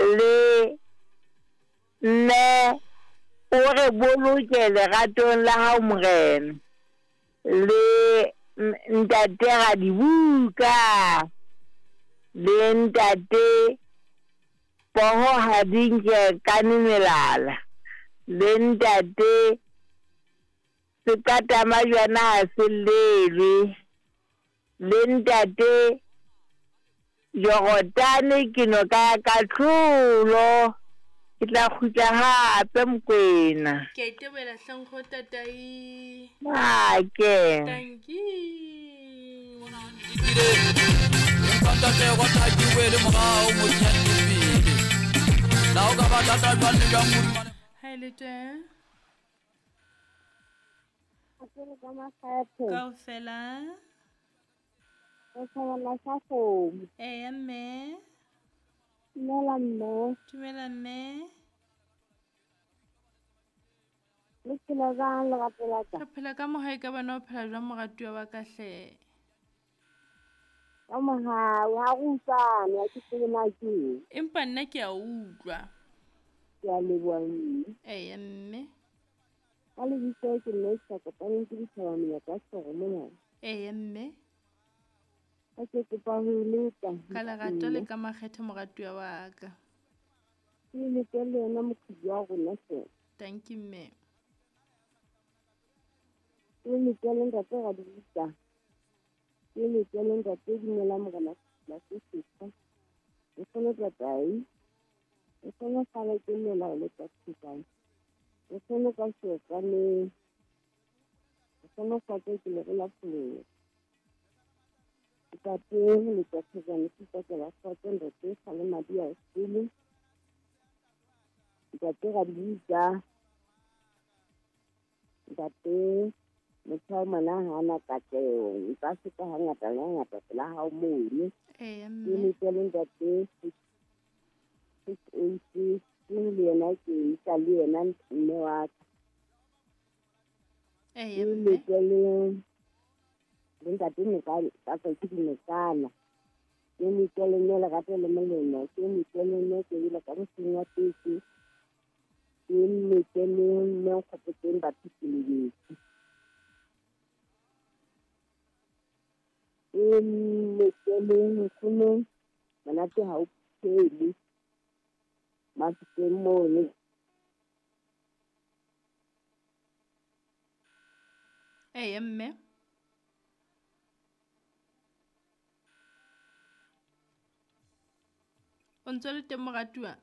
Le mme o re boloke leratong la hao Morena. Le ntate Radibuka le ntate Poho ha di nke kane melala le ntate Seqatamajwana ha se llelwe le ntate Jorodane ke noka ya kahlolo. Ke tla kgutla hape, Mokwena. Ke a itebohela hleng go tatai. Make. Dankie. Ha e le teng. Kaofela. Re thabela sa kgomo. Eya mme. Dumela mme. Dumela mme. Le phela jwang lerato la ka? Re phela ka moha e ka bana o phela jwang moratuwa wa ka hle? Ka mohau ha re utlwane ha ke tsebe na ke eng. Empa nna ke a utlwa. Ke a leboha mme. Eya mme. Ka lebitso ke mme sa kopaneng ke dithaba menyaka soro mona. Eya mme. Ka ke kopa ho e leta. Ka lerato le ka makgethe moratuwa wa ka. Ke lete le yena moqhubi wa rona hle. Dankie mme. Ke lete le ntate Radibuka. Ke lete le ntate Dumela Morena la se setjha. Nkgono Tatai. Nkgono kgale ke llela ho leta thekane. Nkgono ka seokaneng. Nkgono kgotso ke lere la pholelo. Ntate Letsa Thejane Sipakela kgotso ntate Kgale Madi a sele. Ntate Radibuka. Ntate motho wa ngwana ha ana katleho nka feta hangata le hangata pela hao mono. Eya Ke mme. lete le ntate 686 le yena ke isa le yena mme wa ka. Eya Ke mme. lete le le ntate Nokana ka tswa ke dinokana. Ke lete le mme lerato le molemo. Ke lete le mme ke ile ka mosing wa teke. Ke lete le mme nkgopotseng batho ke lebetse. Ke lete le nkgono monate ha o phele. Mafikeng mono. Eya mme. O ntso le teng moratuwa?